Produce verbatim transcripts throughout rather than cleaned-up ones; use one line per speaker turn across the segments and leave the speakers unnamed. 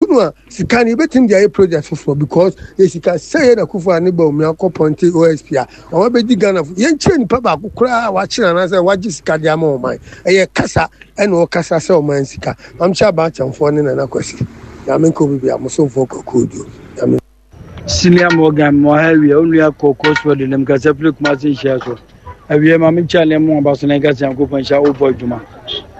No a sika no yɛbɛtumi de ayɛ project foforɔ because yɛ sika sɛ yɛ na Akufo a ne ba omi akɔ pɔnte O S P a ɔma bɛdi Ghana fo. Yɛnkyerɛ nipa baako koraa a wakyerɛ anaasɛ wagye sika de ama ɔman. Ɛyɛ kasa ɛna ɔkasa sɛ ɔman sika. Mamkyɛ abaakyɛmfoɔ ne Nana Kwasi Nyame nka obi bia mosomfoɔ kɔkɔɔduo Nyame.
Senior Morgan mo ha awie wo nua kɔkɔɔ so de nam kasa firi Kumase nhyia so awie ma menkyɛ ne mu aba so na nka sɛ Nyankopɔn nhyɛ wobɔ adwuma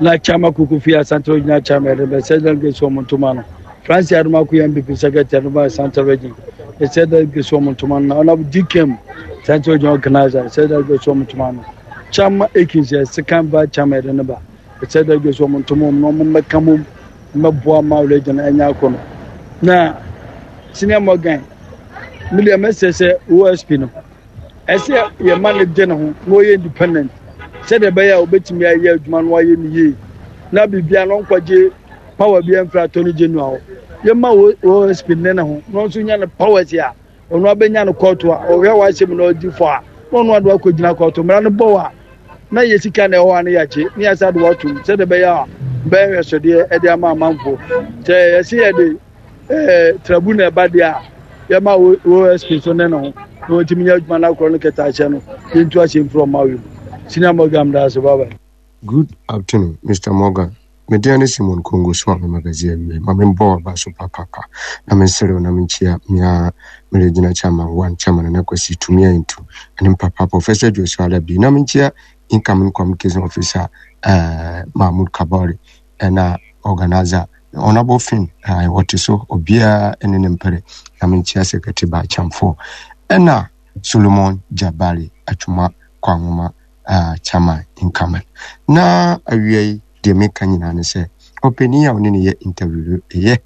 na Chama Kuku fi Asante Regional Chairman de bɛsɛ delegate so ɔmo ntoma no. Francis Adomako yɛ N P P secretary no ba Asante Region, ɛsɛ delegate so ɔmo ntoma no. Na ɔnabɔ D K M Asante Regional organizer, ɛsɛ delegate so ɔmo ntoma no. Chama Akins yɛ second vice chairman de ne ba, ɛsɛ delegate so ɔmo ntoma ɔmo na ɔmo mmɛka mom mmɛboa ma region ɛnyɛ akɔ no. Na Senior Morgan, mi deɛ mɛsɛ sɛ O S P no ɛsɛ yɛma no de ne ho na ɔyɛ independent sɛdeɛ ɛbɛyɛ a obɛtumi ayɛ adwuma no ayɛ no yie na biribia no ɔnkɔgye power bi amfiri Attorney General hɔ. Yɛma O S P ne ne ho na ɔnso nya no powers a ɔno abɛnya no kɔɔto a ɔhwɛ w'asɛm na ɔdi fɔ a na ɔno ade akɔgyina kɔɔto mmara no bɔ a na yɛ sika na ɛwɔ a no yɛagye ne yɛasa de watom sɛdeɛ ɛbɛyɛ a bɛyɛ hwɛsodeɛ ɛde ama amanfoɔ sɛ yɛse yɛde ɛɛ tribunal ɛba deɛ a yɛma O S P so ne ne ho na wɔntumi nyɛ adwuma no akorɔ no kɛtɛ ahyɛ no yɛntu ahyɛ mfiri ɔma wei mu. Senior Morgan, da ase, bye bye.
Good afternoon, Mister Morgan. Me din ne Simon Congo so a me magazine awie. Ma me mbɔ aba so papapa. Na me nserew na me nkyia me a me regional chairman one, chairman Nana Kwasi Tumi Antu ne papa Professor Joshua Alabi. Na me nkyia incoming communication officer uh, Mahmoud Kabari ɛna organizer Honorable Finn uh, wɔte so obiara ne ne mpere. Na me nkyia secretary Baachamfo ɛna Solomon Jabari Atwuma Kwanwoma uh, chairman incoming. Na awia yi deɛ meka nyinaa ne sɛ ɔpanin a ɔne ne yɛ interview no ɛyɛ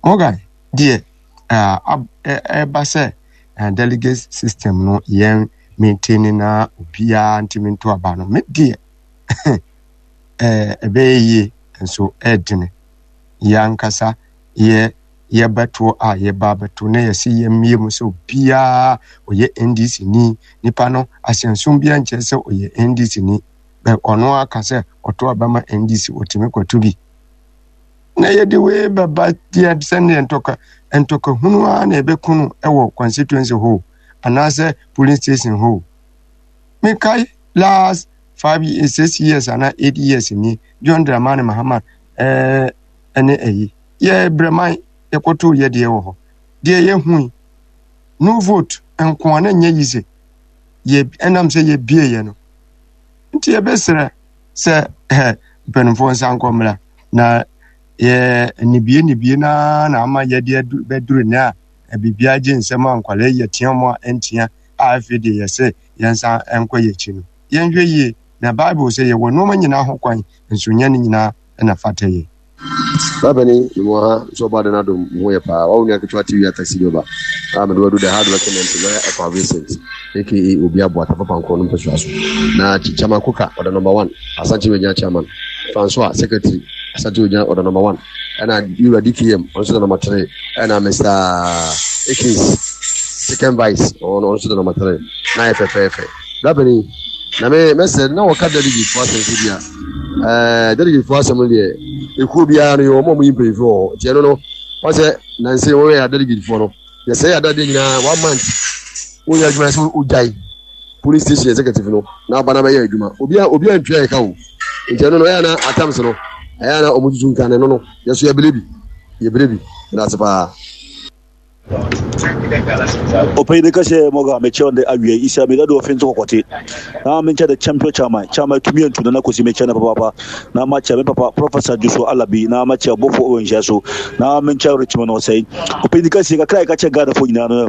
Morgan deɛ ɛba sɛ delegate system no yɛn maintain na obiara ntumi nto aba no, me deɛ ɛbɛyɛ yie nso ɛɛdene. Yɛn ankasa yɛ yɛbɛto a yɛba abɛto na yɛsi yɛmmie mu sɛ obiara ɔyɛ N D C ni, nipa no ahyɛnso biara nkyerɛ sɛ ɔyɛ N D C ni bɛ ɔno aka sɛ ɔto aba ma N D C, ɔtumi kɔto bi na yɛde wei bɛba deɛ sɛneɛ ntɔka ntɔkahunu ara na ɛbɛku no wɔ constituency hɔ anaasɛ polling station hɔ. Mekae last five years, six years anaa eight years ni, John Dramani Mahama ɛɛ ɛne ɛyi yɛ brɛman yɛkɔtoo yɛ deɛ wɔ hɔ deɛ yɛhui no vote nko a na nyɛ yi sɛ yɛ ɛnam sɛ yɛbie yɛ no. Nti yɛbɛsrɛ sɛ ɛ mpanimfoɔ nsa nkɔ mmra na yɛ nibie nibie naa na ama yɛde bɛduru ne a biribiara gye nsɛm a nkwalaa yi yɛtea mu a ɛntea a afei deɛ yɛsɛ yɛnsa nkɔ yɛ akyi no, yɛnhwɛ yie na Bible sɛ yɛwɔ nneɛma nyinaa ho kwan nso nyɛ ne nyinaa ɛna fata yɛ.
Babani mu ha nso ɔba de n'adom mu ho yɛ paa. Wawo nua ketewa T V a taxi driver a mede wadu the hard working M P lawyer Ekwa Vincent A K A Obi Aboa Tafa Pankoro no mpɛsua so na Chairman Koka ɔda number one, Asante Regional Chairman Francois secretary, Asante Regional ɔda number one, ɛna Yura D K M ɔno nso da number three, ɛna Mister Akins second vice ɔno nso da number three na yɛ fɛfɛɛfɛ. Babani na me mɛsɛ na wɔka delegate fo asɛm sɛ bi a ɛɛ delegate fo asɛm no deɛ ekuo biara no yɛ wɔn a wɔyi mpanyinfoɔ wɔ hɔ, nti ɛno no wɔn sɛ nansi wɔn yɛ delegate foɔ no yɛsɛ yɛ adadeɛ nyinaa one month wɔyɛ adwuma sɛ ogyae police station executive no na aba na bɛyɛ adwuma, obiara obiara ntua yɛ ka o. Nti ɛno no ɛyɛ na atams no ɛyɛ na wɔn tutu nka no no yɛso yɛbere bi yɛbere bi ɛna ase paa.
Ɔpanyin ka sɛ mɔga mekyɛ ɔde awie isa mi dade ɔfe nso kɔkɔte na menkyɛ the champion chairman, chairman tumi antu na nakosi mekyɛ no papaapa na makyɛ me papa Professor Juso Alabi na makyɛ ɔbɔfo ɔwɔ nhyia so na menkyɛ Richmond ɔsɛe. Ɔpanyin ka sɛ kakra yɛka kyɛ Ghanafoɔ nyinaa no,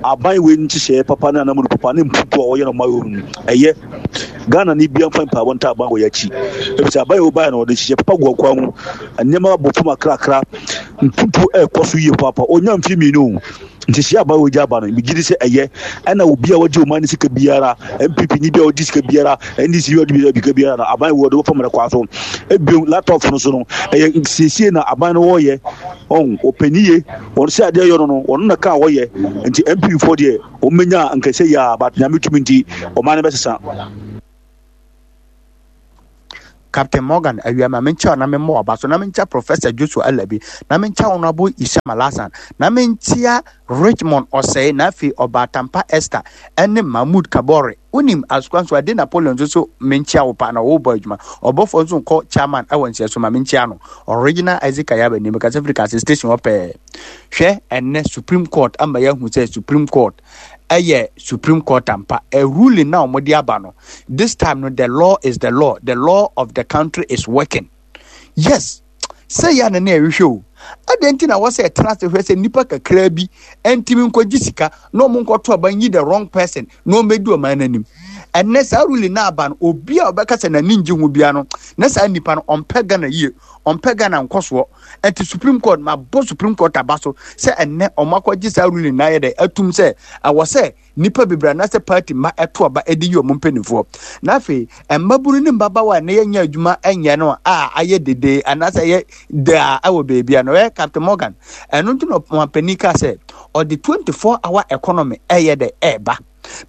aban wei nhyehyɛeɛ papa ne anamunu papa ne mputu a wɔyɛ no ma yɛ no ɛyɛ Ghana ni bia mfa mpaabɔ nta aban wɔ yɛ akyi efisɛ aban yɛ ɔbaeɛ no ɔde hyehyɛ papa gu ɔkwan mu, nneɛma abɔ fam akrakra, mputu ɛrekɔ so yie paapa. Ɔnya mfe mmienu nhyehyɛ aba wɔ gya aba no, megye di sɛ ɛyɛ ɛna obi a wɔgye ɔman ne sika biara, N P P ni bi a wɔgye sika biara, N D C bi a wɔgye sika biara no, aban wɔ de wɔfam rekɔ so ebien laptop no so no ɛyɛ siesie na aban no wɔyɛ ɔn ɔpɛni ye wɔn sɛ adeɛ yɛ no no wɔn na kaa wɔyɛ. Nti N P P foɔ deɛ wɔn menya nkɛse yɛ a, but Nyame tumi nti ɔman no bɛsesa.
Captain Morgan awia ma menkyia na memmɔ ɔba so na menkyia Professor Joshua Alabi na menkyia Honorable Isham Alhassan na menkyia Richmond Ɔsɛe na afei Ɔbaatampa Esther ɛne Mahmood Kabore. Wonim asokwa nso ade Napoleon nso so menkyia wo pa na wɔbɔ adwuma. Ɔbɔfoɔ nso nkɔ chairman ɛwɔ nhyɛ so ma menkyia no. Original Isaac Ayaba nim kasa firi kase station hɔ pɛɛ. Hwɛ, ɛnɛ Supreme Court ama yɛahu sɛ Supreme Court ɛyɛ Supreme Court ampa. A ruling na wɔde aba no, this time no, the law is the law. The law of the country is working. Yes, sɛ yɛ na ne ɛhwehwɛ o. Adɛn nti na wɔsɛ ɛtena ase hwɛ sɛ nnipa kakraa bi ntumi nkɔgye sika na ɔmo nkɔto aba nyi the wrong person na ɔmmɛdi ɔman no anim? Ɛnɛ saa ruling na aba no, obi a ɔbɛka sɛ n'ani ngye ho bia no, na saa nipa no ɔmpɛ Ghana yie, ɔmpɛ Ghana nkɔsoɔ. Ɛnti Supreme Court, ma bɔ Supreme Court aba so sɛ ɛnɛ ɔmo akɔgye saa ruling na ayɛ dɛ atum sɛ ɛwɔ sɛ nipa bebree anaasɛ party ma ɛto aba ɛde yi ɔmo mpanimfoɔ. Na afei mmabunu ne mmabaawa a ne yɛnyɛ adwuma ɛnyɛ no a ayɛ dede anaasɛ ɛyɛ daa ɛwɔ beebi a no ɛyɛ Captain Morgan. Ɛno nti na ɔmampanin kaa sɛ ɔde twenty four hour economy ɛyɛ dɛ ɛɛba,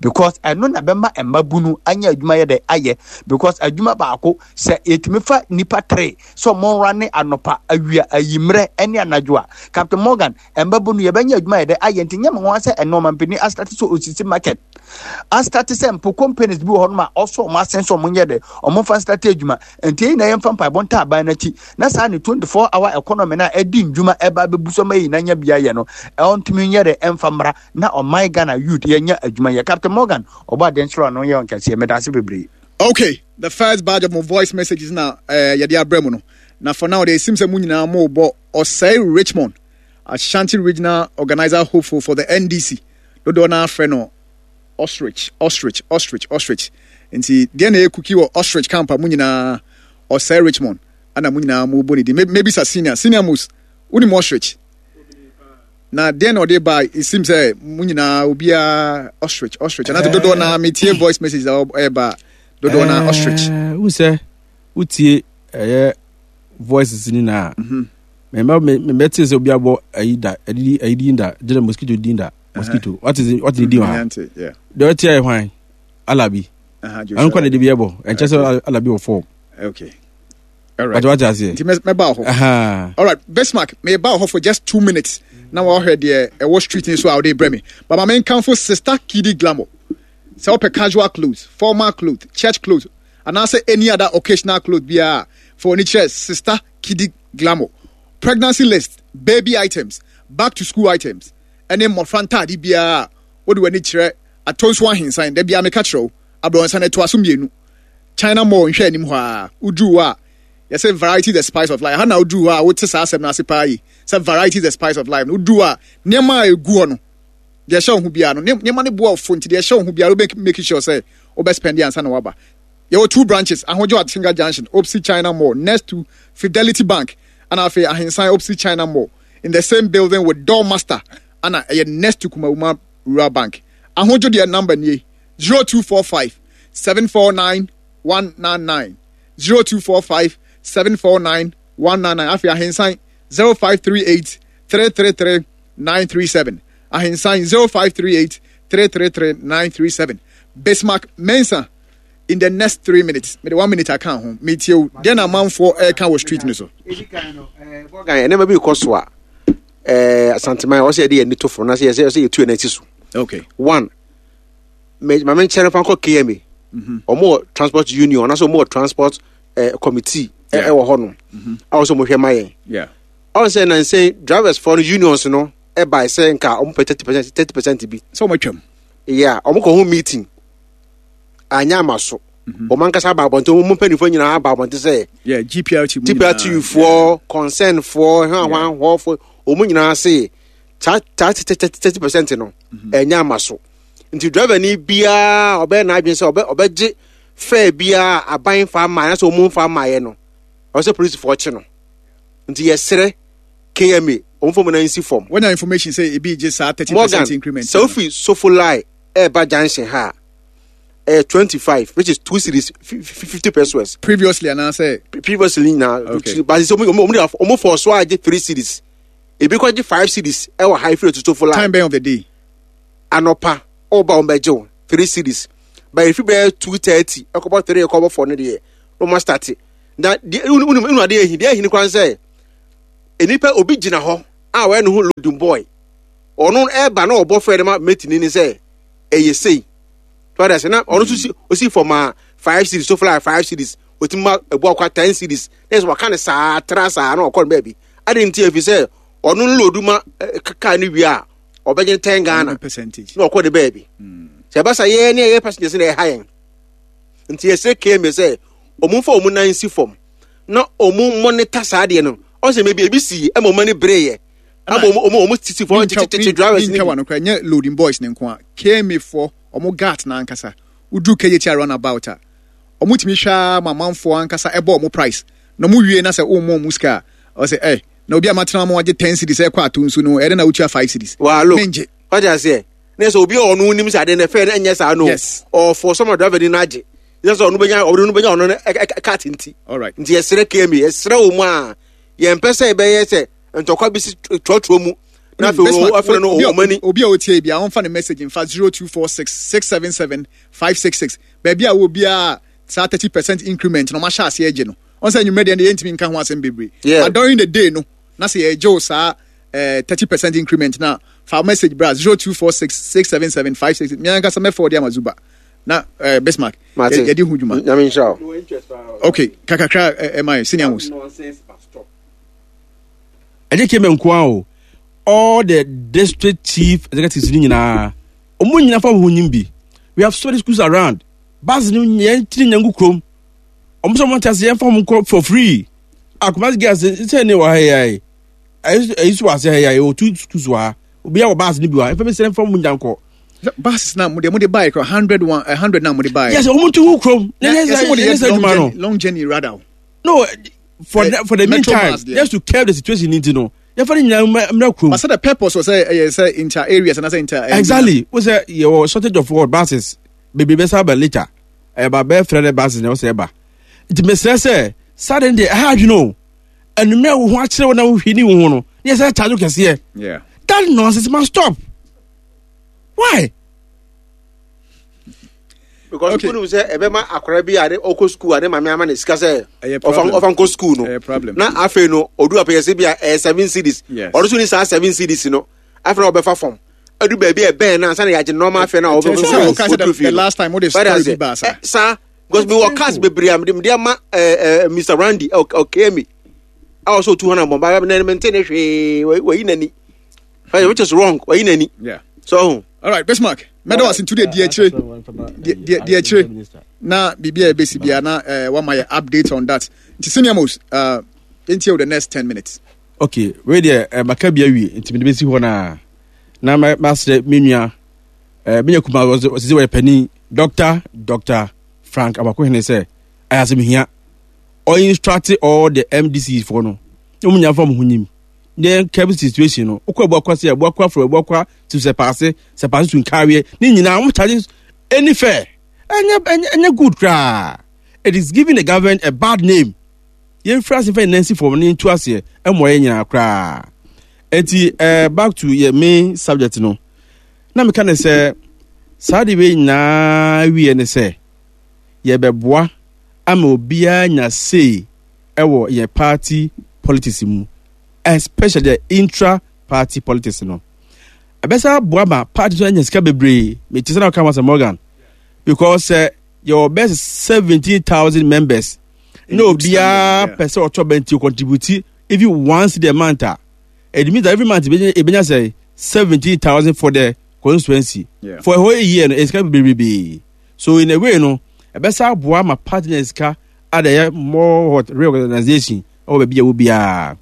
because ɛno na bɛma mmabunu anya adwuma yɛ dɛ ayɛ, because adwuma baako sɛ yɛtumi fa nipa three sɛ ɔmo nra ne anɔpa, awia, ayimmerɛ ɛne anadwo a, Captain Morgan, mmabunu yɛbɛnya adwuma yɛ dɛ ayɛ. Nti nyɛ mo ho sɛ ɛno ɔmampanin astart sɛ osisi market, astart sɛ mpo companies bi wɔ hɔ nom a ɔsɔ ɔmo asen sɛ ɔmo nyɛ dɛ ɔmo fa start adwuma. Nti eyi na yɛmfa mpaebɔ nta aban n'akyi na saa ne twenty four hour economy na ɛdi ndwuma ɛba abɛbu so ma yi na nya bia yɛ no, ɛntumi nyɛ dɛ ɛmfa mmra na ɔman Ghana youth yɛnya adwuma yɛ. Captain Morgan, ɔbɔ adeɛ nkyerɛ ɔno yɛ ɔnkɛseɛ. Meda ase bebree.
Okay, the first batch of my voice messages na uh, yɛde abrɛ mu no. Na for now, they seem sɛ mo nyinaa mo bɔ Ɔsɛe Richmond, Ashanti Regional Organizer hopeful for the N D C. Dodoɔ no afrɛ no Ostrich, Ostrich, Ostrich, Ostrich. Nti deɛ na ɛyɛ kuki wɔ Ostrich camp a mo nyinaa Ɔsɛe Richmond ana mo nyinaa mo bɔ ne din. Maybe sa senior, senior most, wonim Ostrich? Na deɛ na ɔde ba, it seems sɛ mo nyinaa obiara Ostrich, Ostrich. Anaasɛ dodoɔ na metie voice message a ɛba dodoɔ na Ostrich.
Wo sɛ wotie ɛyɛ voices ni na mɛmɛ mɛte sɛ obi abɔ ayi da ɛdi ayi din da gyina mosquito din da mosquito wate wate ne din wɔ ha deɛ ɔte ayɛ hwan Alabi ɛno kɔ na de bi ɛbɔ ɛnkyɛ sɛ Alabi wɔ fɔm.
Okay.
Alright. Wate aseɛ.
Nti mɛba hɔ. Alright, Bismarck, meba hɔ for just two minutes. Na wɔahwɛ deɛ ɛwɔ street ni so a wɔde brɛ me. But ma menkamfo Sister Kidi Glamour. Sɛ wopɛ casual clothes, formal clothes, church clothes, anaasɛ any other occasional clothes biara, fa w'ani kyerɛ Sister Kidi Glamour. Pregnancy list, baby items, back to school items, ɛne mmɔfra ntaade biara a wode w'ani kyerɛ Atonso Ahensan, da biara meka kyerɛ wo, aborɔnsa no ɛtoa so mmienu. China Mall nhwɛ anim hɔ a, woduru hɔ a, yɛsɛ variety the spice of life. Ha na woduru hɔ a wote saa asɛm no ase paa yi sɛ variety the spice of life no. Woduru hɔ a, nneɛma a ɛgu hɔ no, deɛ ɛhyɛ wo ho biara no, nneɛma no boa ɔfo, nti deɛ ɛhyɛ wo ho biara wobɛ make sure sɛ wobɛ spend ansa na waba. Yɛwɔ two branches, Ahodwo Atinga Junction, opposite China Mall, next to Fidelity Bank, ana afei Ahensan opposite China Mall, in the same building with Doormaster, ana ɛyɛ next to Kumawuma Rural Bank. Ahodwo deɛ number nie, zero two four five seven four nine one nine nine, zero two four five seven four nine one nine nine. Afei Ahensan zero five three eight three three three nine three seven. Ahensan zero five three eight three three three nine three seven. Bismarck Mensah, in the next three minutes, mede one minute aka ho, metie wo. Deɛ na amanfoɔ ɛreka wɔ street no so?
Nneɛma bi kɔ so a ɛɛ Asanteman ɔsɛ yɛde yɛn ani to fam na sɛ yɛsɛ yɛsɛ yɛtu yɛn akyi so.
Okay
one, maame nkyɛn fa nkɔ K M A, wɔn wɔ transport union anaasɛ wɔn wɔ transport ɛɛ committee ɛwɔ hɔ nom a wɔsɛ wɔn hwɛ ma yɛn. Ɔn sɛ nansɛn drivers fɔ no unions no ɛba sɛ nka wɔn pɛ thirty percent thirty percent bi.
Sɛ wɔn atwam.
Yeah, wɔn kɔ ho meeting anya ama so. Wɔn ankasa aba abɔnten, wɔn mpanimfoɔ nyinaa aba abɔnten sɛ.
Yeah, G P R T mu.
G P R T foɔ, concern foɔ, hwan hwan hɔfoɔ, wɔn nyinaa se saa saa thirty percent no ɛnya ama so, nti driver ni biara ɔbɛyɛ n'adwene sɛ ɔbɛ ɔbɛgye fare biara aban fa ama anaasɛ wɔn fa ama yɛ no, ɔsɛ polisifoɔ kye no. Nti yɛsrɛ K M A wɔn fɔ mu na nsi fam.
Wɔnya information sɛ ebi gye saa thirty percent increment.
Sɛ ofi Sofoline ɛɛba junction ha ɛyɛ twenty five, which is two cedis fifty pesewas.
Previously anaasɛ.
Previously na
Okay.
But sɛ ɔmo ɔmo ɔmo fɔ so agye three cedis, ebi kɔ gye five cedis ɛwɔ ha efiri Sofoline.
Time bɛn of the day?
Anɔpa ɔba wɔn bɛgye wo three cedis, but efi bɛyɛ two thirty ɛkɔbɔ three ɛkɔbɔ four no deɛ na ɔmo start
Na deɛ wonu wonu adeɛ ehi deɛ ehi ne kwan sɛ nipa obi gyina hɔ a wɔyɛ ne ho loading boy ɔno ɛɛba na ɔbɔ fɛ de ma mate ni ne sɛ ɛyɛ sei tɔda sɛ na ɔno nso si osi fam a five cedis so fly five cedis otumi ma ebu akwa ten cedis na ɛsɛ waka ne saa tra saa na ɔkɔ ne baabi adi nti efi sɛ ɔno load ma kaa ne wie a ɔbɛgye ten Ghana
percentage
na ɔkɔ ne baabi sɛ ɛba sa yɛn ne yɛ passengers na ɛha yɛn nti yɛsɛ K M A sɛ ɔmo nfa ɔmo nan si fam na ɔmo monitor saa adeɛ no. Ɔsɛ maybe ebi si ɛma ɔmo ani bere yɛ ama ɔmo ɔmo ɔmo sisi fam tete drivers ni
bi no kora nyɛ loading boys ne nko a K M A foɔ ɔmo guards na ankasa woduru K J T roundabout a ɔmo tumi hwɛ ma amanfoɔ ankasa ɛbɔ ɔmo price na ɔmo wie na sɛ ɔmo ɔmo sika a ɔsɛ ɛ na obi a matena mo agye ten cedis ɛkɔ ato nso no ɛdɛ na wotua five cedis.
Waa look.
Mengye.
Wagye aseɛ ne sɛ obi a ɔno nim sɛ adeɛ no ɛfɛ no ɛnyɛ saa no.
Yes.
Ɔfɔ sɔmɔ driver ni no agye yɛ sɛ ɔno bɛnya ɔno bɛnya ɔno no cut nti.
Alright.
Nti yɛsrɛ K M A, yɛsrɛ wɔ mu a yɛmpɛ sɛ ɛbɛyɛ sɛ ntɔkwa bi si trɔtrɔ mu na afei
Bismarck,
wɔ afei no
obi a-
ɔmo ani
obi a otie bi a ɔmfa ne message nfa zero two four six six seven seven five six six baabi a wɔ biara saa thirty percent increment na ɔmo ahyɛ aseɛ agye no ɔn sɛ enyimrɛ deɛ yɛntumi nka ho asɛm bebree.
Yeah.
But during the day no na sɛ yɛgye wo saa thirty percent increment na fa message bra zero two four six six seven seven five six mi ankasa mɛfɔ ɔde ama Zuba na ɛɛ Bismarck
Mate.
yɛ- yɛde ho dwuma.
Nyame nhyira wo.
Okay, kakakra ɛma yɛ senior most.
Ɛnyɛ K M A nko ara o, all the district chief executives ni nyinaa ɔmo nyinaa fa wɔn nyim bi. We have so many schools around, bus ni yɛn tiri nyɛ ngu kurom ɔmo sɛ ɔmo te ase yɛn fa ɔmo nkɔ for free. Akumasi girls sɛ ne wɔ ha yi ayi ɛyi so wɔ ase ha yi ayi o two schools wɔ ha, obiara wɔ bus ni bi wɔ ha efa mi sɛ nfa ɔmo nya nkɔ.
Buses na mo de mo de buy kora hundred one eh, hundred na mo de buy.
Yes, ɔmo tu gu kurom na
Na
yɛ
yɛsɛ mo de
sɛ yɛ
yɛ
sɛ
long
adwuma no.
journey long journey rather o.
No, for
Eh,
the, for the
Metro
meantime
Mass deɛ.
just to curb the situation ni ti no yɛfa ne nyinaa mmra mmra kurom.
But sɛ the purpose was sɛ ɛyɛ sɛ inter areas and sɛ inter. eh,
Exactly, wo sɛ yɛwɔ shortage of what buses bebree bɛ sábà later ɛba bɛɛ fɛ dɛ buses na ɛwɔ sɛ ɛba nti mesrɛ sɛ saa de deɛ ɛha adwene o enumere wo ho akyerɛ wo na wohwɛ ni wo ho no ne yɛ sɛ charge wo kɛseɛ.
Yeah.
That nonsense must stop. Why?
Because
Okay.
okay. Wonim sɛ ɛbɛma akwaraa bi a ne ɔkɔ school a ne maame ama ne sika sɛ
Ɛyɛ
ɔfa
problem.
ɔfa nkɔ school no
Ɛyɛ problem.
na afei no odu apɛyɛ sɛ bi a ɛyɛ seven cedis.
Yes.
Ɔno nso ni saa seven cedis no afei na ɔbɛfa fam adu baabi a ɛbɛn na ansa na yɛagye normal afei na
Ɛkyerɛ sɛ woka sɛ the- the last time wode story bi baa saa.
Saa because mi wɔ cars bebree a mede mede ama ɛɛ ɛɛ Mister Randy ɔkɛmi a ɔsɛ otu hɔ na bɔn ba na mente ne hwee wayi n'ani, which is wrong, wayi n'ani.
Yeah.
So ɔho.
All right, Bismarck. Mɛda wase ntu de di akyire di di di akyire na biribi a ɛbɛsi bia na eh, wama yɛ update on that. Nti senior most uh, yɛntie wo the next ten minutes.
Okay, wei deɛ eh, maka bi awie nti mede bɛsi hɔ naa na ma- masrɛ me nua eh, menya kuma ɔsɛ sɛ wɔyɛ panin Doctor Doctor Frank Abakohene sɛ ɛyɛ asɛm hia ɔinstruct all the M D Cs foɔ no na ɔmu nya fa mo ho nyim ne curb situation no wokɔ Abuakwa sɛ Abuakwa from Abuakwa to Sɛpaase, Sɛpaase to Nkareɛ ne nyinaa wɔn charge any fare. Ɛnyɛ ɛnyɛ ɛnyɛ good koraa. It is giving the government a bad name. Yɛmfiri ase mfa yɛn nan si fam ne yɛntu aseɛ ɛmmoa yɛn nyinaa koraa. Enti ɛɛ back to yɛ main subject no na meka ne sɛ saa de wei nyinaa wie ne sɛ yɛbɛboa ama obiara nya say ɛwɔ yɛn party politics mu, especially the intra party politics no. Ɛbɛsa aboa ma party nso anya sika bebree. Mete sɛ na ɔka sɛ Morgan because sɛ yɛwɔ bɛyɛ seventeen thousand members na obiara pɛ sɛ ɔtɔ bɛnti contribute even once in a month a, it means that every month ebenya sɛ seventeen thousand for the constituency.
Yeah.
For a whole year no esika bebree. So in a way no ɛbɛsa aboa ma party na sika ada yɛ more what reorganization ɛwɔ baabi a ɛwɔ biara.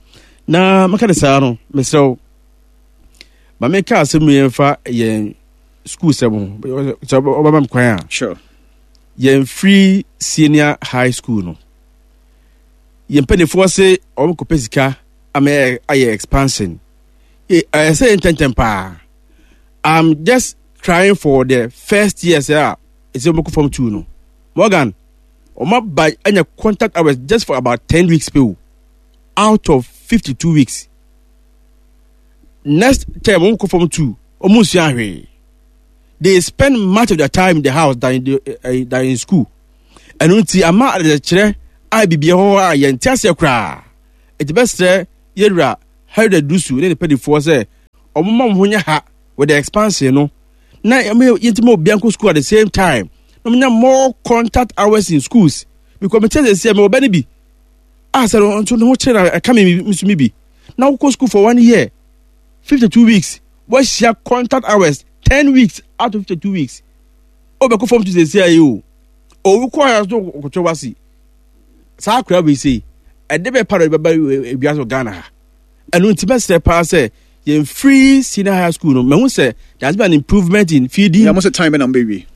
Na maka de saa no mesrɛ wo ma meka asɛm yɛn fa yɛn school sɛm ho sɛ ɔbɛma me kwan a.
Sure.
Yɛn free senior high school no yɛn mpanimfoɔ se wɔn kɔpɛ sika ama yɛ- ayɛ expansion. Ɛ- ɛyɛ sɛ yɛn ntɛntɛn paa. I'm just crying for the first year sɛ a ɛsɛ wɔn kɔ form two no. Morgan, wɔn aba anya contact hours just for about ten weeks pe o out of fifty two weeks. Next term wɔn kɔ form two, wɔn nsua hwee. They spend much of their time in the house than in, the, uh, than in school. Ɛno nti ama adekyerɛ A biribi hɔ a yɛnte aseɛ koraa. Ɛti bɛsrɛ yɛwura Harry Dusu ne ne pɛdifoɔ sɛ ɔmo ma mo ho nyɛ ha with the expansion no na yɛntumi obiara nkɔ school at the same time na ɔmo nya more contact hours in schools, because me kyerɛ sɛ sɛ mewɔ bɛ no bi a sɛ no nso ne ho kyerɛ na ɛka me nso mi bi na wokɔ school for one year, fifty two weeks, wɔahyia contact hours ten weeks out of fifty two weeks. Wobɛkɔ fam to sɛsi ayɛ o owu kɔ ayɛ so kɔtwɛ wasi saa akora wei sei ɛde bɛ pa na ɛde bɛba ewiase wɔ Ghana ha. Ɛno nti bɛsrɛ paa sɛ yɛn free senior high school no, mahu sɛ there has been an improvement in feeding.
Yeah, mo sɛ time bɛ na mo bɛ wie?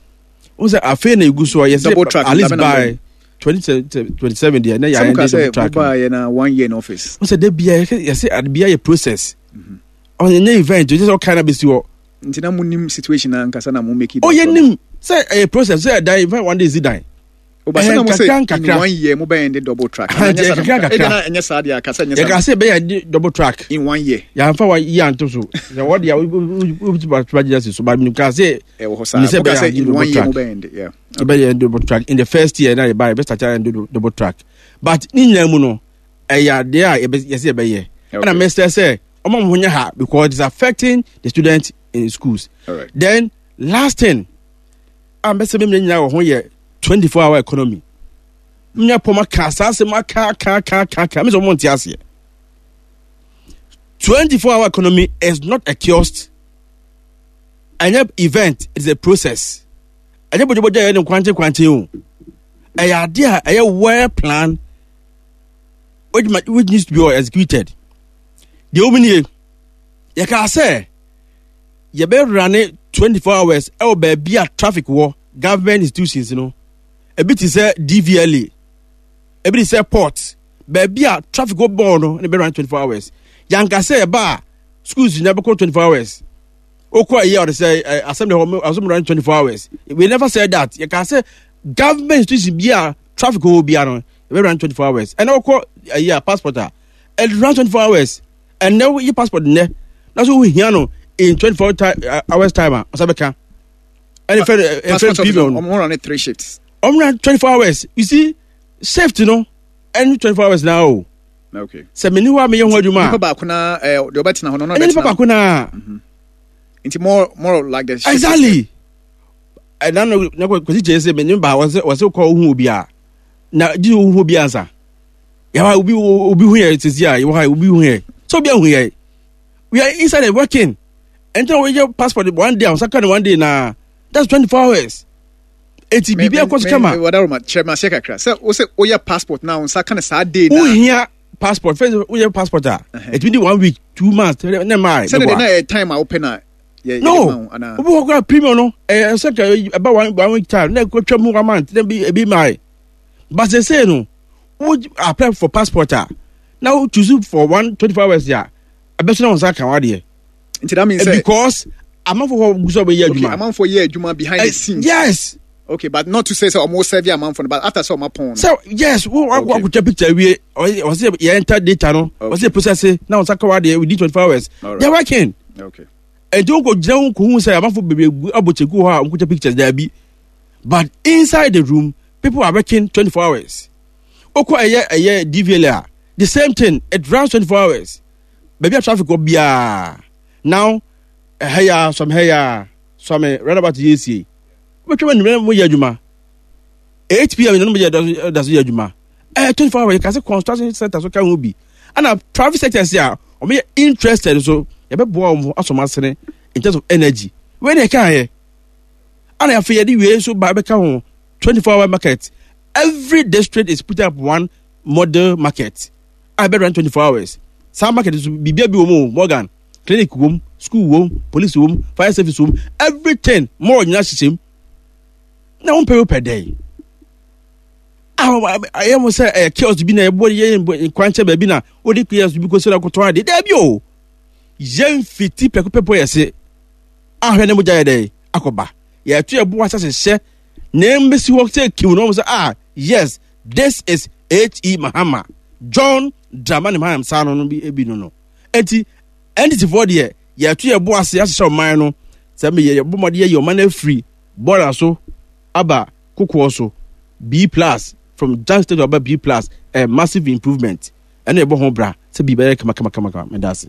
N sɛ afei na egu so a yɛsɛ
Double track,
at least
dabe na
by twenty twenty seven deɛ na
sɛ
yɛayɛ
mo ka
de double
sɛ
track
mo ba yɛ na one year in office.
N sɛ de bia yɛsɛ ade bia yɛ process, ɔnyɛ event o, sɛ ɔkan na bɛsi hɔ.
Nti na mo nim situation na nkasa na mo make it.
O yɛ nim sɛ ɛyɛ process sɛ ɛdan event one day si dan.
O ba sɛ na mo
Ɛyɛ
sɛ
nkakra
in
nkakra.
one year mo bɛ yɛn de double track.
Ah, nti
Ɛnyɛ saa na
nkakra
mo ka.
nkakra.
Ebi na ɛnyɛ saa deɛ akasa ɛnyɛ
Yɛka
saa.
sɛ ɛbɛyɛ de double track
In one year.
Yɛamfa wa yi anto so sɛ wɔde a wobɛtumi agyina si so ba menim sɛ
Ɛwɔ hɔ saa.
Menim sɛ
Mo ka
ɛbɛyɛ
sɛ in
double
one year
track.
mo bɛ yɛn de, yeah.
Yɛbɛyɛ double track in the first year na yɛba yɛbɛ start ayɛ double track, but ne nyinaa mu no ɛyɛ adeɛ a yɛbɛ- yɛsɛ yɛbɛyɛ. Ɛna mesrɛ sɛ ɔma mo ho nyɛ ha because it's affecting the students in schools.
All right.
Then last thing a mbɛsɛ memmerɛ nyinaa wɔ ho yɛ twenty-four hour economy. Menya pɔm aka saa asɛm aka aka aka aka aka mesɛ ɔmo nte aseɛ. twenty-four hour economy is not a kiosk, ɛnyɛ event, it is a process. Ɛnyɛ bɔgyabɔgya yɛ ne nkwankye kwankye o, ɛyɛ adeɛ a ɛyɛ well planned which, which needs to be executed. Deɛ wɔn nie, yɛka sɛ yɛbɛwura ne twenty-four hours ɛwɔ baabi a traffic wɔ, government institutions no, ebi te sɛ D V L A, ebi te sɛ port, baabi a traffic wɔ bɔɔl no ne bɛwura ne twenty-four hours. Yanka sɛ ɛba a schools nyinaa bɛkɔ twenty-four hours. Okɔ ɛyɛ ɔde sɛ ɛ assembly hɔ assembly run twenty-four hours, we never said that. Yɛka sɛ government institution bi a traffic wɔ bi a no yɛbɛ run twenty-four hours. Ɛna okɔ ɛyɛ a passport a ɛ run twenty-four hours. Ɛnɛ yi passport nnɛ na so wohia no in twenty-four ti uh, hours time a ɔsa bɛka ɛne fɛ ɛfɛ
Passport office.
Premium.
Ɔmo run three shifts.
Ɔmo run twenty-four hours. You see, shift no ɛne twenty-four hours na o.
Okay.
Sɛ mene hɔ a meyɛ ho adwuma
Nipa
a
baako na ɛɛ deɛ ɔbɛtena hɔ no ɔno
ɛne nipa
ɔbɛtena.
Baako na.
Nti more more like the shift.
Exactly. Ɛna no na kwasi kyerɛ sɛ mene ba wɔsɛ wɔsɛ kɔ ohu obi a na gye ohu obi ansa yɛwɔ obi obi hu yɛ sisi a yɛwɔ ha obi hu yɛ sɛ obi ahu yɛ, we are inside and working. Ɛnti na wɔyɛ passport one day a wɔsa ka no one day na that's twenty four hours. Eti biribi akɔ so kama.
Wadaroma, kyerɛ me aseɛ kakra sɛ wo sɛ woyɛ passport na wo nsa ka no saa day na
Wohia passport fɛn woyɛ passport a ɛtumi di one week, two months, ne maa.
Sɛne de na ɛyɛ time a wopɛ na yɛ
No.
yɛde ma wo anaa?
Obi wɔ kora premium no ɛyɛ sɛ ka ɛba one one week time na ɛkɔ twɛ mu one month na ebi ebi maa, but sɛ no wo apply for passport a na wo choose for one twenty four hours a ɛbɛso na wɔn nsa ka wa deɛ.
Nti that means sɛ
because amanfo hɔ gu so a wɔyɛ
okay
adwuma.
Amanfoɔ yɛ adwuma behind
Eh,
the scenes.
Yes.
Okay, but not to say sɛ ɔmo serve amanfoɔ no, but after sɛ ɔmo apɔn no.
So yes, wo akɔ
Okay.
akɔtwa picture wie, ɔyɛ ɔsɛ yɛ enter data no,
Okay.
ɔsɛ process na wɔn nsa ka wa deɛ within twenty four hours.
Alright.
They are working.
Okay
nti wọn kò gyina wọn kò hu sɛ amanfo bebree gu abɔ kyɛku hɔ a wɔn kò twa pictures daabi, but inside the room people are working twenty four hours. Okɔ ɛyɛ ɛyɛ D V L A a, the same thing, it runs twenty four hours baabi a traffic wɔ biara. Now ɛhɛ ya sɔmi hɛ ya sɔmi roundabout yɛ esie wobɛtwa wɔn nimɛ mo yɛ adwuma eight p m nínú mo yɛ da so yɛ adwuma ɛyɛ twenty four hours. Yɛ kase construction sector so ka ho bi ɛna private sectors a wɔn yɛ interested so yɛbɛboa wɔn asɔm asene in terms of energy wei na ɛka yɛ ɛna afei yɛde wei nso ba bɛka ho, twenty four hour market. Every district is putting up one model market a bɛ run twenty four hours. Saa market nso biribiara bi wɔ mu o, Morgan, clinic wɔ mu, school wɔ mu, police wɔ mu, fire service wɔ mu, everything mall nyinaa hyehyɛ mu na wɔn pɛ pɛ dɛ a ɛyɛ mo sɛ ɛyɛ kiosk bi na ɛbɔ yɛ nkwankyɛn baabi na wɔde kiosk bi kɔ so na kɔtɔn adeɛ. Dɛbi o, yɛn fiti pɛko pɛpɔ yɛ se ahwɛ ne mo gya yɛ dɛ akɔba yɛto yɛ bo asa hyehyɛ na mbɛsi hɔ sɛ kiw na wɔn sɛ, "Ah yes, this is H E. Mahama, John Dramani Mahama." Saa no no bi ebi no no eti N D C foɔ deɛ yɛto yɛ bo ase ahyehyɛ ɔman no sɛ mi yɛ bɔ mɔden yɛ ɔman no afiri bɔɔla so aba kokoɔ so B plus. From junk state aba B plus, a massive improvement. Ɛna ɛbɔ ho bra sɛ biribi bɛyɛ kama kama kama kama. Meda ase.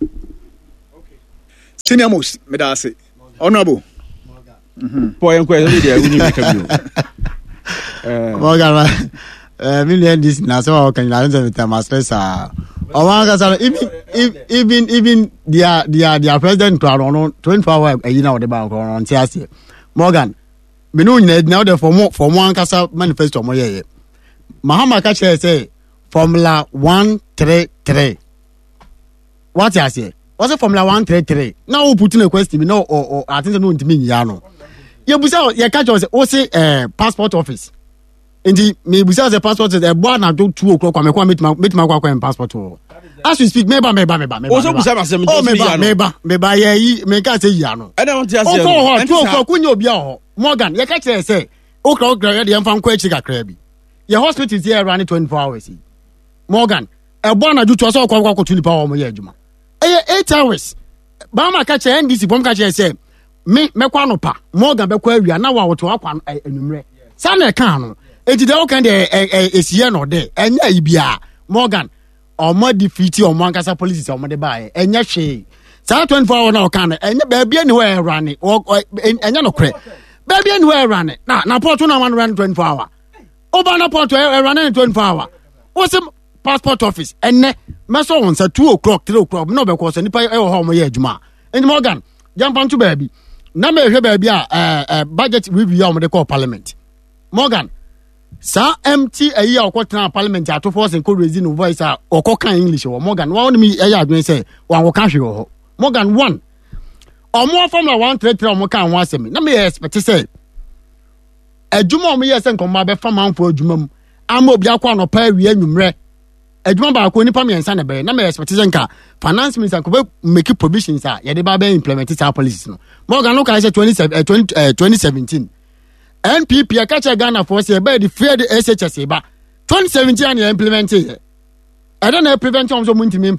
Senior most, meda ase. Honorable.
Paul yɛn kɔ yɛ deɛ wuni mi ka bi o.
Morgan, eh, me nua N D C na asɛm a wɔka nyinaa ne sɛ metam asere saa. Ɔmo ankasa no, even even even their their their president kora no, ɔno twenty four hour ayi na ɔde ba kora ɔno ɔnte aseɛ. Morgan, me ne wo nyinaa gyina wode fɔmo fɔmo ankasa manifesto ɔmo yɛyɛ. Mahama ka kyerɛ sɛ formula one three three. Wate aseɛ? Wɔsɛ formula one three three. Na wo put no question bi na ɔ ɔ ate sɛ no ntumi nyia no. Yɛbusa, yɛka kyerɛ sɛ wose ɛɛ passport office, nti mebusa sɛ passport ɛbɔ anadwo two o'clock kwame kwa metuma metuma akɔ akɔ passport wɔ as we speak. Meba, meba, meba, meba.
O so busa ma sɛ
oh, meba, meba, meba, yɛ yi meka sɛ yia no.
Ɛna wɔn ti aseɛ
no, okɔ hɔ two o'clock wonye obi a hɔ. Morgan, yɛka kyerɛ sɛ okra okra yɛ de yɛmfa nkɔ akyiri kakra bi, yɛ hospital ti yɛ run twenty four hours yi. Morgan, ɛbɔ anadwo two sɛ ɔkɔ akɔ akɔto nipa a wɔn yɛ adwuma, ɛyɛ eight hours. Baama ka kyerɛ N D C fɔm ka kyerɛ sɛ me mɛkɔ anɔpa, Morgan bɛkɔ awia, na wa wɔto akɔ anwummerɛ saa na ɛka no. Eti deɛ ɔka deɛ ɛ ɛ esiyɛ na ɔdɛ ɛnyɛ ayi biara. Morgan, ɔmo defeat ɔmo ankasa policies a ɔmo de baayɛ, ɛnyɛ hwee. Saa twenty four hour na ɔka no, ɛnyɛ baabi ani hɔ ɛwura ne ɛnyɛ nokorɛ, baabi ani hɔ ɛwura ne na na port na wɔn run twenty four hour. Ɔba na port ɛwura ne twenty four hour. Wɔsɛ passport office ɛnɛ mɛsɔ wɔn nsa two o'clock, three o'clock na ɔbɛkɔ sɛ nipa ɛwɔ hɔ a wɔn yɛ adwuma. Nti Morgan, yɛmfa nto baabi na mɛhwɛ baabi a ɛɛ ɛɛ budget review a wɔde kɔɔ parliament. Morgan, saa empty ayi a ɔkɔ parliament, Ato Forson kɔ raise no voice a ɔkɔ kan English wɔ. Morgan, wɔn ne mi ɛyɛ adwene sɛ wɔn akɔka hwee wɔ hɔ. Morgan, one ɔmo formula one three three ɔmo kan ho asɛm na meyɛ expect sɛ adwuma a ɔmo yɛ sɛ nkɔmɔ abɛfa manfo adwuma mu ama obi akɔ anɔpa, awia, anwummerɛ adwuma baako nipa mmiɛnsa na ɛbɛyɛ, na meyɛ expect sɛ nka finance minister nkɔbɛ make provisions a yɛde ba bɛ implement saa policies no. Morgan no kae sɛ twenty seven twenty twenty seventeen N P P ɛka kyerɛ Ghana foɔ sɛ ɛbɛyɛ de free de S H S ba twenty seventeen a na yɛ implement yɛ ɛdɛ na prevent wɔn sɛ wɔn ntumi implement.